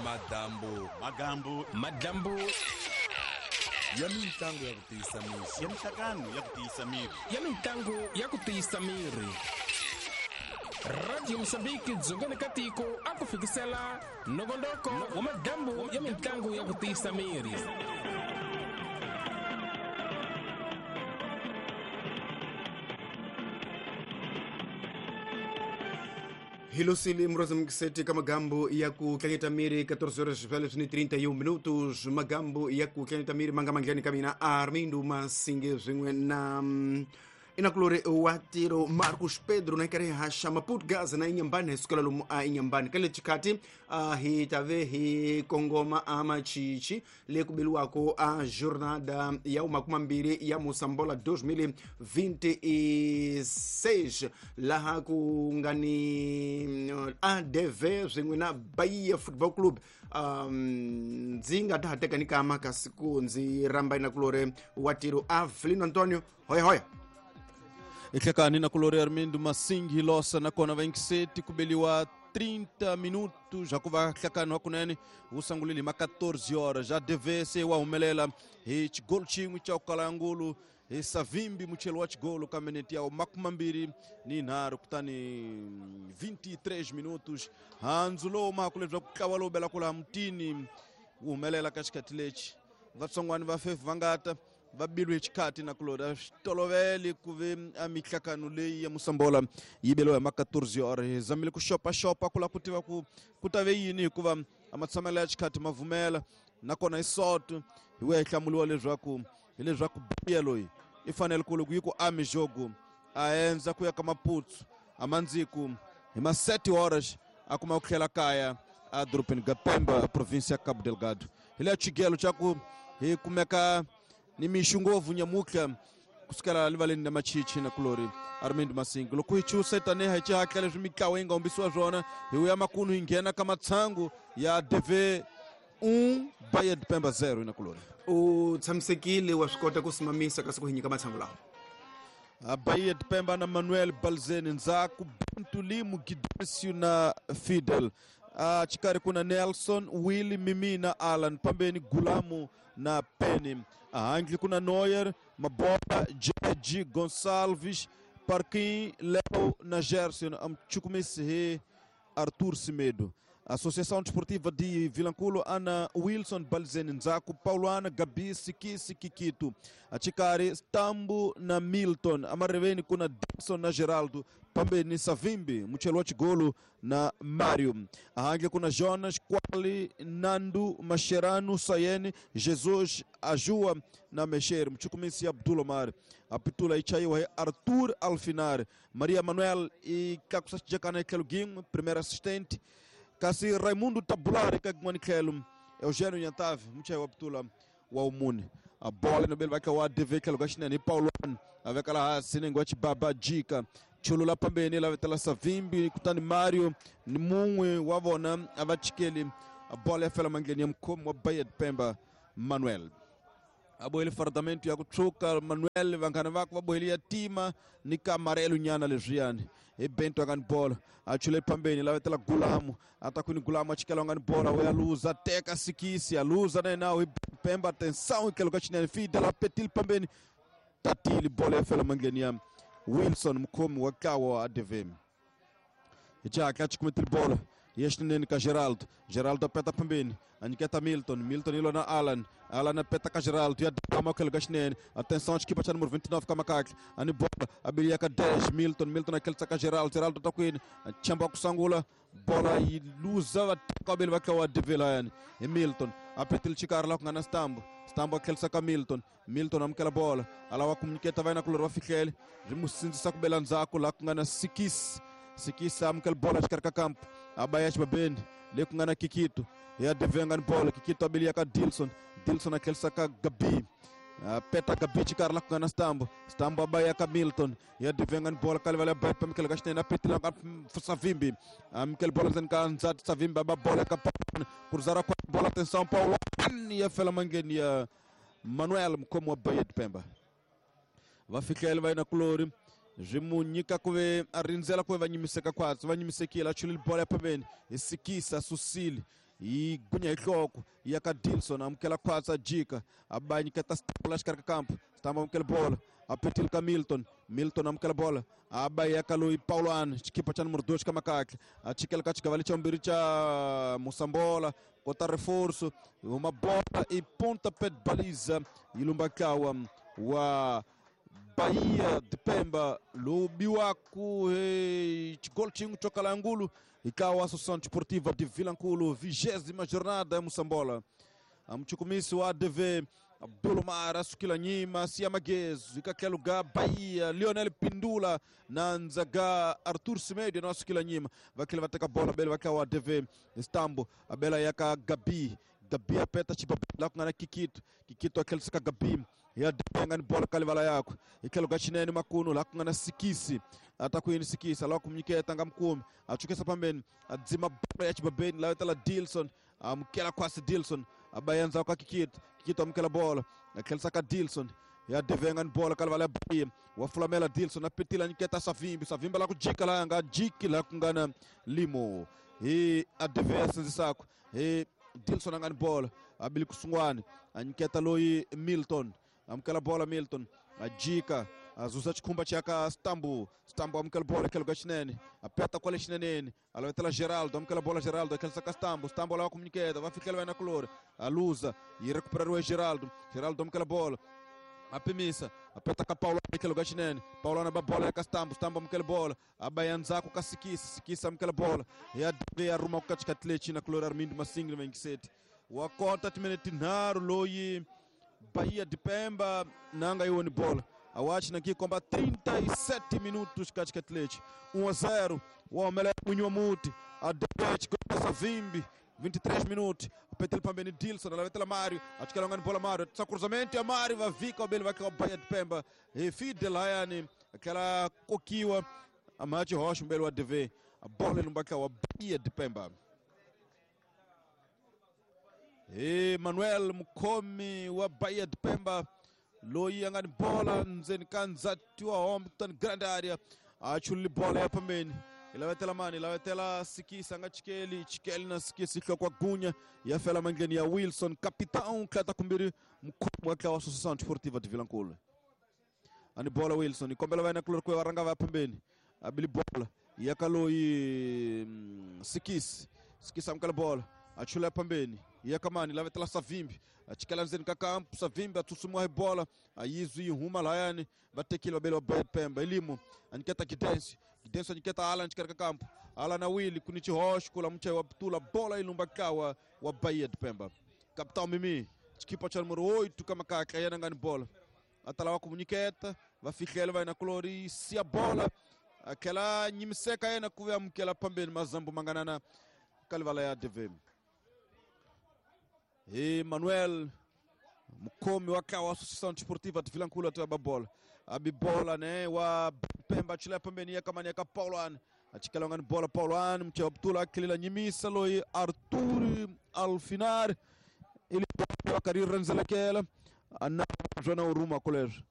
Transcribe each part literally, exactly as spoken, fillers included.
Madambu Magambu Madambu ya mintlangu ya ku tiyisa miri ya mihlangano ya ku tiyisa miri ya mintlangu ya ku tiyisa miri. Radio Mozambique dzongeni ka tiko a ku fikisela nongonoko wa madambu ya mintlangu ya ku tiyisa miri. Hilosile mroza mkiseti ka magambo ya ku tlangeta miri catorze horas vale trinta e um minutos. Magambo ya ku tlangeta miri manga manglani ka mina Armindo Masinge swin'we na inakulore wa tiro Marcos Pedro na karhi haxa Maputo Gaza na Inhambane hi sukela lomu a Inhambane ka le xikati uh, hi tave hi kongoma a Machichi le ku beliwako a jornada ya umakumambiri ya Moçambola dois mil e vinte e seis laha ku nga ni A D V swin'we na Bahia Football Club. Um, ndzi nga ta ha teka ni kama kasi ku ndzi rhamba inakulore wa tiro Avelino Antonio. Hoya hoya. Ehlekani na kulori Armindo Masingi losa nakona vaingiseti kubeliwa trinta minutos já kuva hlekani wa kunene wu sungulile ma catorze horas já D V se wa humelela hi xigolo xin'we xa Kalangulu hi Savimbi muchelo wa xigolo ka minete ya makumambiri ni nharhu kutani vinte e três minutos handzu lowu maku leswaku ntlawa lowu belaka laha mutini wu humelela ka xikhathi lexi vatsongwani va fefu va nga ta va bilwe xikhathi na kulori swi tolovele ku ve a mihlakano leyi ya Moçambola yi beliwa hi ma catorze horas hi zamile ku xopaxopa ku lava ku tiva ku ku ta ve yini hikuva a matshamelo ya xikhathi ma vumela nakona hi soto hi wuya hi hlamuriwa leswaku hileswaku Bahia loyi i fanele ku loko yi ku a mijogo a endza ku ya ka Maputo a mandziku hi ma sete horas a kuma ku tlhela kaya a dorobeni ga Pemba a província ya Cabo Delgado. Hi leya xigelo xa ku hi kumeka ni mixu ngopfu nyamutlha kusukela rivaleni na Machichi na kulori Armindo Masingi loko hi chusa tanihi hi xihatla leswi mitlawa yi nga humbisiwa swona hi wuya makunu hi nghena ka matshangu ya D V um Bahia de Pemba zero na kulori. U tshamisekile wa swi kota ku simamisa kasi ku hi nyika matshangu lawa. Bahia de Pemba na Manuel Balzeni ndzhaku Bento Limo Gidêncio na Fidel a xikarhi ku na Nelson Willy Mimi na Alan pambeni Gulamu na Penny ahandle ku na Neuer Mabola J G Gonçalves Parquin Leo na Gerson amchukumisi hi Arthur Semedo. Associação Desportiva de Vilanculo ana Wilson Balzeni ndzhaku Paulo ana Gabi Sikisi Kikito achikari Tambo na Milton amareveni kuna Dixon na Geraldo pambeni Savimbi muchelo wa xigolo na Mario ahandle kuna Jonas Quali Nando Mascherano Sayene Jesus Ajua na Mexer mchukumisi Abdul Omar apitula ichaiwa hi Arthur Alfinar Maria Manuel e kakusachijekana Kelugim primeiro assistente kasi Raimundo Tabulari ka tlhelo Eugênio Nyantave muchayi wa putula wa umuni a bola no bele wa D V tlhelo ka xinene hi Paulo a veka laha hansi nenge wa Chibaba Jika chulula pambeni la vetela Savimbi kutani Mario ni mun'we wa vona a va chikeli a bola ya fela mandleni ya mukhomi wa Bahia de Pemba Manuel a bohele fardamento ya ku tshuka Manuel vanghana vakwe va bohele ya tima ni ka amarelo nyana leswiyani hi Bento a nga ni bola a chule pambeni la vetela Gulamu a ta kwini Gulamu a chikela nga ni bola u ya luza teka Sikisi a luza na yena hi Pemba atenção tlhelo ka xinene Fidel a petile pambeni tatile bola ya fela mandleni ya Wilson mukhomi wa ntlawa wa A D V hi xihatla xikumetile bola ya xinene ka Geraldo Geraldo a peta pambeni a nyiketa Milton Milton yi na Alan Alan a peta ka Geraldo ya dama tlhelo ka xinene atenção xikipa xa número vinte e nove ka makatla a ni bola a biliya ka dez Milton Milton a tlhelisa ka Geraldo Geraldo ta kwini a chamba ku sungula bola yi luza va teka va tlawa D V layani hi Milton a petile xikarhi laha ku nga na Stambo Stambo a tlhelisa ka Milton Milton amukela bola a lava ku nyiketa va yena kulori va fihlele byi mu sindzisa ku bela ndzhaku laha ku nga na Sikisi Sikisi amukela bola xikarhi ka kampo a ba ya xibabeni le ku nga na Kikito ya D V nga ni bola Kikito a biliya ka Dilson Dilson a tlhelisa ka Gabi peta Gabi xikarhi laha ku nga na Stambo Stambo a ba ya ka Milton ya D V nga ni bola ka livala ya ba pamukela ka xinene a petile ka Savimbi amukela bola ndzeni ka ndzati Savimbi a ba bola ka Paulo kuruzara kwa bola atenção Paulo ya fela mangheni ya Manuel mukhomi wa Bahia de Pemba va fihlele va yena kulori swi mu nyika ku ve a rindzela ku ve va nyimiseka khwatsi va nyimisekile a chulile bola ya pambeni hi Sikisa susile Yi gunya hi nhloko ya ka Dilson amukela khwatsa jika a nyiketa Stambo xikarhi ka kampo Stambo amukela bola a petile ka Milton Milton amukela bola a ba ya ka loyi Paulo xikhipa xa numero dois ka makahle a chikela ka xigava lexa vumbirhi xa Musambola kota reforço uma bola e pontapé de baliza yi lumba ntlawa wa Bahia de Pemba lowu biwaku xigolo xin'we xo kala ngulu ikawa Associação Desportiva de Vilankulo vigésima jornada ya Moçambola mchukumisi wa A D V Abdulomar asukila nyima siya magezo ikakhela ga Bahia Lionel Pindula na nzaga Arthur Semedo na asukila nyima vakhela va teka bola bele vakha wa A D V Stambo abela yaka Gabi Gabi apeta chibabela ku nga na Kikito Kikito akhelisa ka Gabi ya denga ni bola kalivala yakwe ikhelo ga xinene makunu la ku nga na Sikisi ata ku yini Sikisi ala ku mnyiketa nga mukumi achukisa pambeni adzima bola ya chibabeni la tala Dilson amukela kwasi Dilson abayenza ka Kikito Kikito amukela bola akhelisa ka Dilson ya devenga ni bola kalivala ya Bahia wa fulamela Dilson apetila nyiketa Savimbi Savimbi la ku jika la nga jiki la ku nga na Limo hi adeve sinzisako hi Dilson anga ni bola abili kusungwani anyiketa loyi Milton amukela bola Milton ajika azusa xikhumba chaka Stambo Stambo amukela bola khelo ka xinene apeta kwale xineneni alavetela Geraldo amukela bola Geraldo akhelisa ka Stambo Stambo lava ku munyiketa va fikela va na kulori aluza yi recuperariwe Geraldo Geraldo amukela bola apimisa apeta ka Paulo khelo ka xinene Paulo na ba bola ka Stambo Stambo amukela bola abaya ndzhaku ka Sikisi Sikisi amukela bola ya ya ruma ku katikati lexi na kulori Armindo Masingile Mengiseti wa kota timinete tinharhu loyi Bahia de Pemba nanga iwoni bola awachi na kikomba trinta e sete minutos katikati lexi um a zero wa omela munyu wa muti adete gosa Vimbi vinte e três minutos apetele pambeni Dilson alavetela Mário achikela ngani bola Mário tsa cruzamento ya Mário va vika obele va Bahia de Pemba e Fidel hayani aquela kokiwa amachi rocha mbele wa D V a bola lumbaka wa Bahia de Pemba e Manuel Mukhomi wa Bahia de Pemba loyi anga ni bola ndzeni ka ndzati wa Hompton grand area achuli bola ya pambeni ilavetela mani ilavetela Sikisi anga chikeli chikeli na Sikisi hlokwa gunya ya fela mandleni ya Wilson capitão klata kumbiri mukhomi wa tlawa Associação Desportiva de Vilankulo ani bola Wilson ikombela va na kulori ku ranga va pambeni abili bola ya kaloyi Sikisi Sikisi amukela bola achula pambeni ya kamani lavetela Savimbi achikela ndzeni ka kampo Savimbi atsutsumuwa hi bola ayizwi yi huma layani va tekile vabeli va Bahia Pemba elimo aniketa Gidensi Gidensi aniketa Alan xikarhi ka kampo Alan na Willy ku ni xihoxo ku la muchayi wa Putula bola yi lumba kawa wa Bahia de Pemba capitão Mimi xikipa xa numero oito ka makatla yena nga ni bola a ta lava ku munyiketa va fihlela va yena kulori siya bola akela nyimiseka yena ku ve amukela pambeni mazambu manganana kalivala ya D V E Manuel Mukhomi wa tlawa Associação Desportiva de Vilankulo atoya ba bola abi bola ne wa Pemba chila pambeni ya kamani ya ka Paulo an achikela ngani bola Paulo an mche Abdullah akhilela nyimisa loyi Arthur Alfinar ili wakari renzelekela ana jona uruma college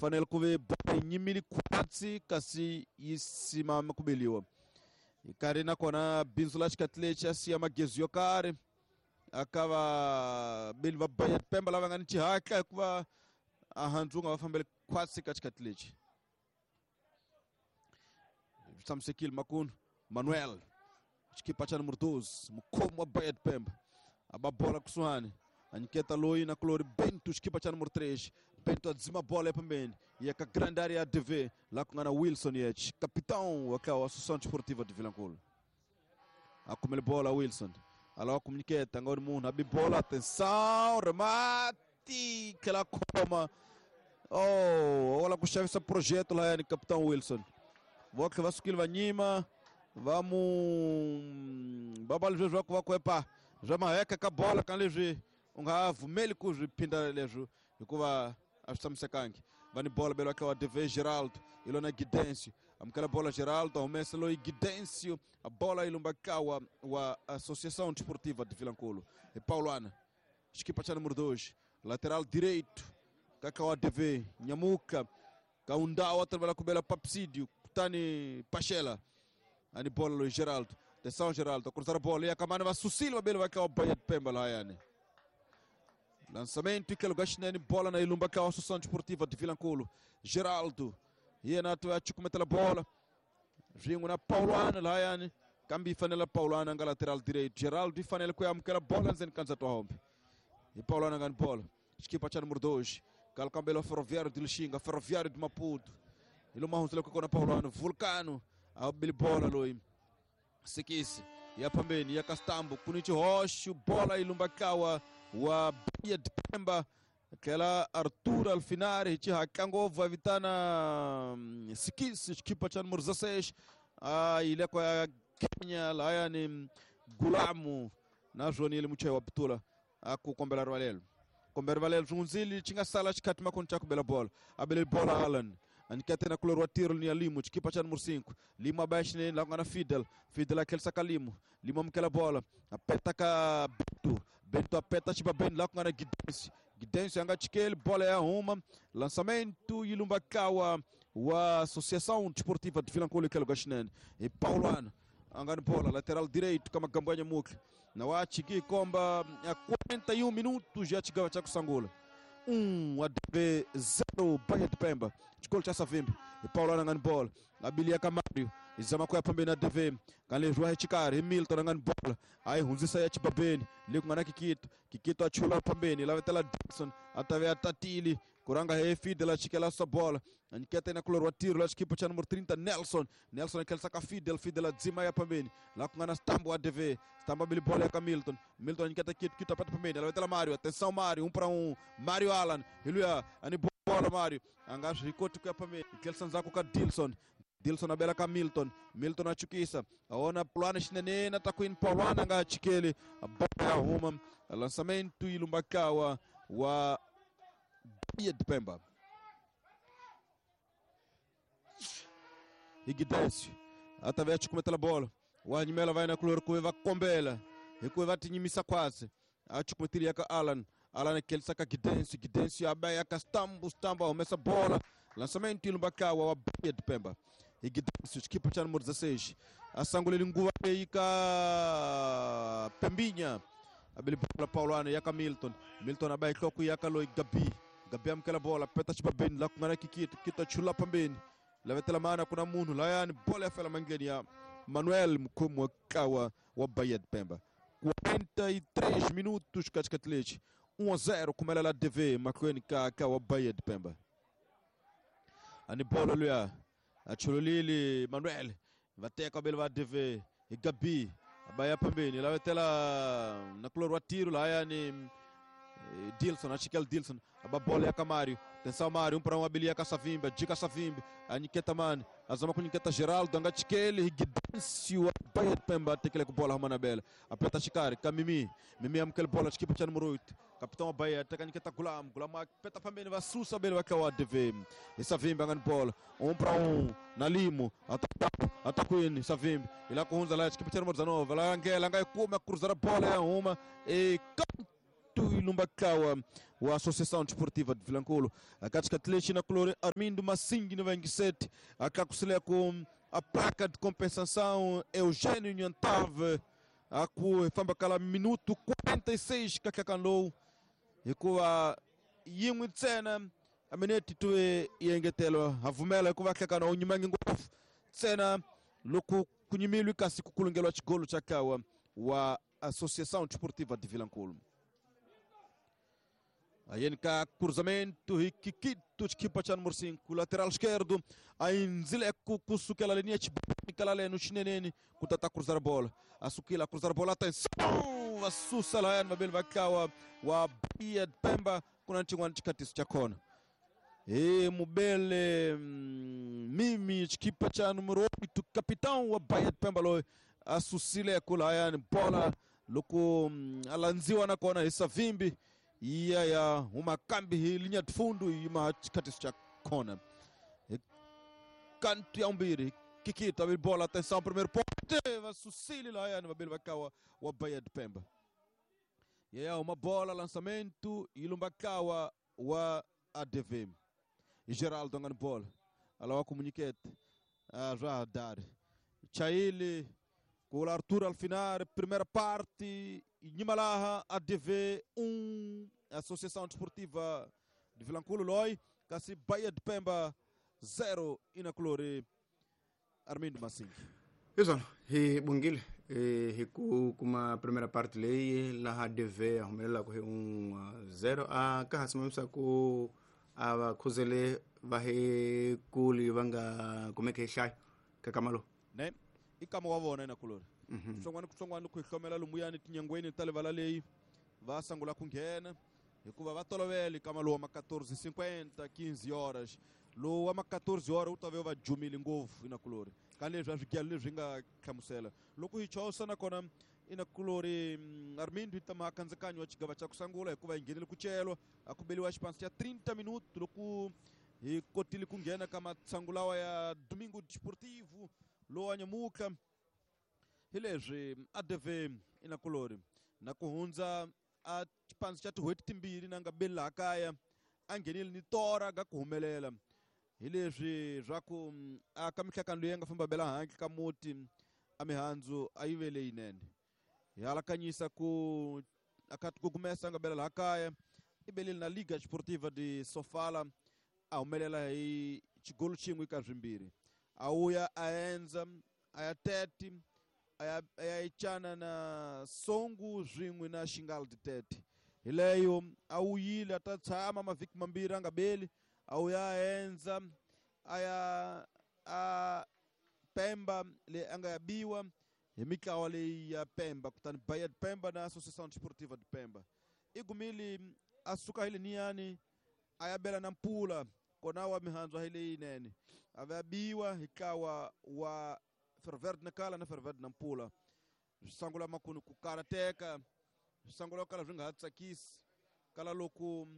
fanele kuve bola nyimili kwatsi kasi yisimama kubeliwa ikari nakona bindzu la xikati lexi a siya magezu yo karhi akava beli va Bahia Pemba lava nga ni xihatla hikuva ahandzu nga va fambeli khwatsi ka xikati lexi swi tshamisekile makunu Manuel xikipa xa numero doze mukhomi wa Bahia Pemba a ba bola kusuhani a nyiketa loyi na kulori Bento xikipa xa numero três Bento adzima bola pambeni ya ka grande área ya D V la ku nga na Wilson Yech capitão wa tlawa Associação Desportiva de Vilankulo a kumele bola Wilson alawa kumnyiketa nga ri munhu abi bola atenção remate tlhela khoma oh wala ku xavisa projeto lahayani capitão Wilson votlhe va sukile va nyima va mu va va leswi va ku va ku epa swa maheka ka bola ka leswi u nga vumeli ku swi phinda leswi hikuva a swi tshamisekangi va ni bola belo wa D V Geraldo ilona Gidencio amukela bola Geraldo humesa loyi Gidencio a bola yi lumba kawa wa Associação Desportiva de Vilankulo e Paulana xikipa xa número dois lateral direito kaka wa D V Nyamuka kaundawa trabalha kubela Papsídio kutani Pachela ani bola loyi Geraldo Atenção Geraldo, cruzar a bola e a Camana vai Sucil, vai bem, vai cá o Bahia de Pemba lá, yani. Lançamento e que lugar chinene, bola na Ilumba cá, a Associação Desportiva de Vilanculo. Geraldo, e na tua chucumeta a bola. Vinho na Paulana lá, yani. Kambi fanela Paulana nga lateral direito. Geraldo e fanela com a bola nzen kanza tua hombe. E Paulana nga bola. Equipa cha número dois. Calcambelo Ferroviário de Lixinga, Ferroviário de Maputo. Ele uma hunzela com a Paulano, Vulcano, a bola loi. Sikisi, ya pambeni, ya Castambo, Kunichi Rocho, bola Ilumbakawa, wa Bahia de Pemba, aquela Arthur Alfinari, Tchihakangova, Vitana Sikisi, equipa cha número dezesseis, a ilha com a Kenya, lá yani Gulamu, na Joanile Muchewa Ptula, a kukombela Rwalelo. Kombela Rwalelo, Junzili, tinha sala chikatima koncha kubela bola, abele bola Alan. Anikete na kulor wa tiro ni Limo, equipa cha número cinco. Limo abaixo nele, lá na Fidel. Fidel aquele saca Limo. Limo amukela bola. Apeta ka Bento. Bento apeta chiba bem lá com a Guidense. Guidense anga chikele, bola é uma. Lançamento Ilumbakawa wa Associação Desportiva de Vilanculo que é e Paulano anga no bola, lateral direito kama Gambanha Mukle. Na wa chiki komba a quarenta e um minutos já chegava cha kusangula. um A D V zero Bahia de Pemba. Gol cha Savimbi. E Paulo angan bola. Abilia Camário. Izama kwa pembe na A D V. Kanle João Chikari, Milton angan bola. Aí hunzisa ya Chibabeni. Liku ngana Kikito. Kikito achula pembeni. Lá vetela Dixon. Atave Tatili. Kuranga he Fidel achikela sua bola. Aniketa na kulor wa tiro lá equipa cha número trinta Nelson. Nelson aquele saca Fidel, Fidel adzima ya pembeni. Lá com ngana Stambo A D V. Stambo abili bola ya Milton. Milton aniketa Kito, Kito apeta pembeni. Lá vetela Mário. Atenção Mário, um para um. Mário Alan. Iluya ani bola Mário. Angacho rikoti kwa pembeni. Aquele sanzako ka Dilson. Dilson abela ka Milton. Milton achukisa. Aona plana chinene takuin Paulana nga chikele. Bola ya huma. Lançamento Ilumbakawa wa Bahia de Pemba. Igidécio através de cometer a bola. O Animela vai na color com vai combela. E com vai tinhimisa quase. A chucometeria com Alan. Alan aquele saca Guidencio. Guidencio abeia Castambo, Stambo, começa a bola. Lançamento Ilumbakawa wa Bahia de Pemba. Igidécio, equipa cha número dezesseis. A sangule lingua aí ka Pembinha. Abeli bola Paulano yaka Milton. Milton abai kloku yaka loi Gabi. Gabi amkela bola peta chiba ben la kungana Kikito. Kito chula pambeni. Lavetela mana kuna munhu layani bola ya fela mangeni ya Manuel Mkumu Kawa wa Bahia de Pemba. quarenta e três minutos katikati um a zero kumela la D V makwenu ka kawa Bahia de Pemba. Ani bola luya achululili Manuel vateka bele wa D V e Gabi abaya pembeni lavetela na kulor wa tiro layani Dilson, achikel Dilson, a bola ya Camário, atenção Mário, um para um abilia Caçavimba, Dica Savimbi, a Niqueta Mane, a Zama com Niqueta Geraldo, Angachikele, Guidêncio, a Bahia de Pemba, tem que bola Romana Bela, aperta Chicari, Camimi, Mimi amkel bola, equipa tinha número oito, capitão Bahia, tem que Niqueta Gulam, Gulam, peta pambeni, vai Sussa Bela, vai que é o A D V, e Savimbi, angando bola, um para um, na Limo, atacuini, Savimbi, e lá com Hunza, lá, equipa tinha número dezenove, lá Angela, Angai come, a cruzar a bola, é uma, e Ilumbakawa wa Associação Desportiva de Vilanculo. A Katikatlechi na color Armindo Massingue no vinte e sete. A Kakusile com a placa de compensação Eugênio Nhantave. A ku fambakala minuto quarenta e seis kakakanlou. E com a yimwe tsena a minute tuwe yengetelo a vumela ku vakakana onyimangi ngofu tsena loku kunyimilwi kasi kukulungelwa chigolo chakawa wa Associação Desportiva de Vilanculo. Aí cá cruzamento e Kikito equipa cha número cinco, lateral esquerdo, aí Nzileco kusukela linha chibikala le no chinenene, kutata cruzar a bola. A sukila cruzar a bola, atenção, a sussa lá no Mabel Vakawa wa Bahia de Pemba kuna nchingwa chikatiso cha kona. E Mubele Mimi equipa cha número oito, capitão wa Bahia de Pemba lo a susile kula yani bola loko alanziwa na kona Isavimbi. Iya ya uma kambi linha de fundo e uma chikatiso cha kona. Canto ya umbiri Kikito abre bola, atenção, primeiro pote, vai Sucile lá ya no Mabel Vakawa wa Bahia de Pemba. E é uma bola, lançamento, Ilumbakawa wa A D V. E Geraldo angando bola. Ala wa comuniquete. A já dar. Chaile Com Arthur Alfinar, primeira parte, Nhimalaha, A D V um, Associação Desportiva de Vilanculo Loi, Cassi Bahia de Pemba zero, Inaculore, Armindo Massing. Exato, e bongile, e kuma primeira parte lei, lá A D V, arrumelela corre um zero, a carra se ku a khuzele vahe kuli vanga como é que é kakamalo. Né? I kama wa vona Inaculore. Kutsongwana kutsongwana ku hlomela lumuyani tinyangweni ta livala leyi va sangula ku nghena hikuva va tolovele kama lowu wa ma quatorze cinquenta quinze horas lowu wa ma quatorze horas wu ta ve va jumile ngopfu Inaculore ka leswi a swigelo leswi nga hlamusela loko hi chosa nakona Inaculore Armindo hi ta makandzikanyo wa xigava xa ku sangula hikuva hi nghenele ku celwa a ku beliwa xipansi xa trinta minuto loko hi kotile ku nghena ka matsangu lawa ya Domingo Desportivo lowa nyamuka hi leswi A D V Inaculore na ku hundza a xipansi xa tin'hweti timbirhi na nga beli laha kaya a nghenile ni tora ga ku humelela hi leswi swa ku a ka mihlakano leyi nga famba bela handle ka muti a mihandzu a yi ve leyinene hi alakanyisa ku a ka tikugumesa a nga bela laha kaya i belile na Liga Esportiva de Sofala a humelela hi xigolo xin'we ka swimbirhi a wuya a endza a ya tete a ya a ya echana na Songo swin'we na Xingal de Tete hi leyo a wuyile a ta tshama mavhiki mambirhi a nga beli a wuya a endza a ya a Pemba leyi a nga ya biwa hi mitlawa leyi ya Pemba kutani Bahia de Pemba na Associação Desportiva de Pemba i gumile a suka hi leniyani a ya bela na Mpula kona wa mihandzu hi leyinene a va biwa hi ntlawa wa Ferverde na Kala na Ferverde na Mpula swi sangula makunu ku karateka swi sangula ku kala swi nga ha tsakisi kala loko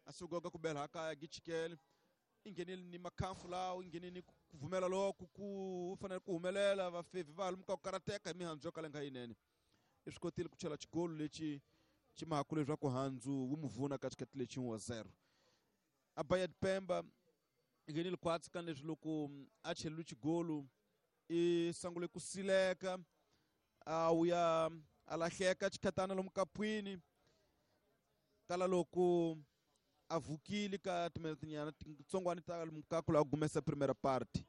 a suka ku bela kaya gichikele i nghenile ni makhamfu lawo i nghenile ni ku vumela loko ku fanele ku humelela vafevi va lumuka ku karateka hi mihandzu yo kala nga yinene i swi kotile ku chela xigolo lexi xi mahaku leswaku handzu wu mu vuna ka xikati lexi wa zero a Bahia de Pemba i nghenile khwatsi ka leswi loko a chelile xigolo i sangule ku sileka a wuya a lahleka xikhatana lomu kapwini kala loko a vukile ka timinete titsongwana ta lomu ka ku lava gumesa primera parte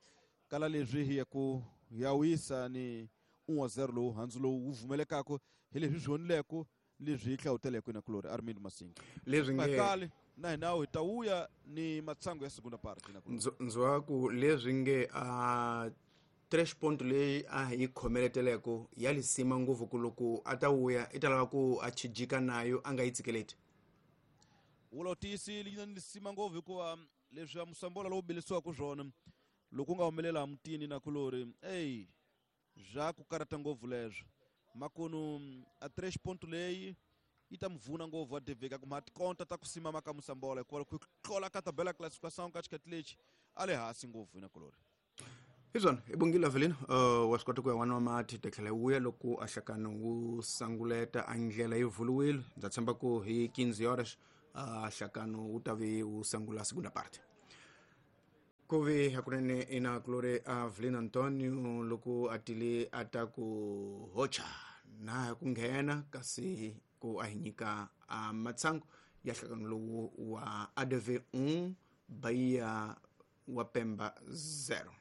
kala leswi hi ya ku ya wisa ni un wa zero lowu handzu lowu wu vumelekaka hi leswi swi honileko leswi hi hlawuteleke Inakulori Armindo Masingi leswi nge kale na hina hi ta wuya ni matsangu ya segunda parte Inakulori ndzwa ku leswi nge a tres ponto leyi a hi khomeleteleko ya lisima ngopfu ku loko a ta wuya i ta lava ku a chijika nayo a nga yi tsikeleti wula tiyisile yi na lisima ngopfu hikuva leswi musambola lowu belisiwaka swona loko u nga humelela mutini Inakulori eyi bya ku karata ngopfu leswo makunu a tres ponto leyi yi ta muvuna ngopfu wa deveka kuma tikonta ta ku simama ka musambola hikuva ku tlola ka tabela classification ka xikati lexi a le hansi ngopfu Inakulori hi swona i bongile Avelino uh, wa swi kota ku ya n'wana wa mati ta tlhela wuya loko a hlakano wu sanguleta a ndlela yi vuluwile ndza tshemba ku hi quinze horas a hlakano wu ta ve wu sangula segunda parte ku ve hakunene Inakulori Avelino Antonio loko a tile a ta ku hocha na ku nghena kasi ku a hi nyika a matsangu ya hlakano lowu wa A D V um Bahia wa Pemba zero.